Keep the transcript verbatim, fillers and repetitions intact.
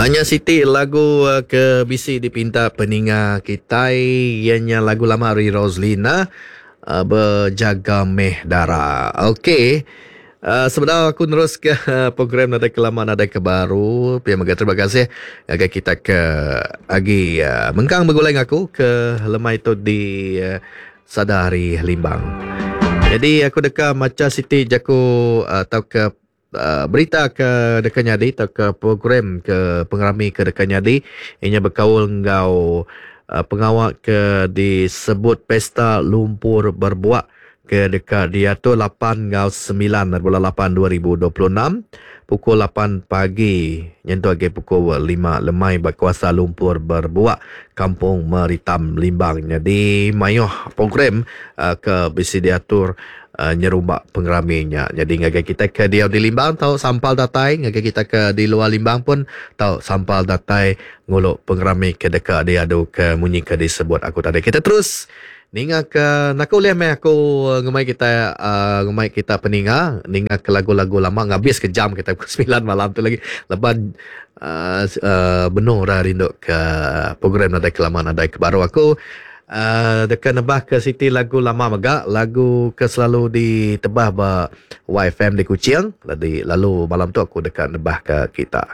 Nya siti lagu ke bisi dipinta peninga kitai iya nya lagu lama ari Roslina Bejaga Meh Dara. Okey sebedau aku neruska program nadai ke lama nadai ke baru pia mega terima kasih ngagai kita ke agi mengkang begulai enggau aku ke lemai tu di sada hari Limbang. Nyadi aku deka macha siti jaku tauka berita ke deka nyadi tauka program ke pengerami ke deka nyadi inya bekaul enggau pengawa ke disebut Pesta Lumpur Berbuak ke deka diatur lapan enggau semilan bulan lapan dua ribu dua puluh enam pukul lapan pagi nyentuk agi pukul lima lemai ba kawasan Lumpur Berbuak Kampung Meritam Limbang. Nyadi mayuh program ke bisi diatur nyerumba pengerami nya. Nyadi ngagai kita ke diau di Limbang tau sampal datai, ngagai kita ke di luar Limbang pun tau sampal datai ngulu pengerami ke deka diadu ke munyi ke disebut aku tadi. Kita terus ninga ke naku ulih meh aku ngemai kita uh, ngemai kita peninga ninga ke lagu-lagu lama ngabis ke jam kita pukul semilan malam tu lagi leban uh, uh, benung orang rindu ke program nadai ke lama nadai ke baru aku. Uh, deka nebah ke siti lagu lama mega, lagu ke selalu ditebah ba Y F M di Kuching. Lalu, lalu malam tu aku deka nebah ke kita.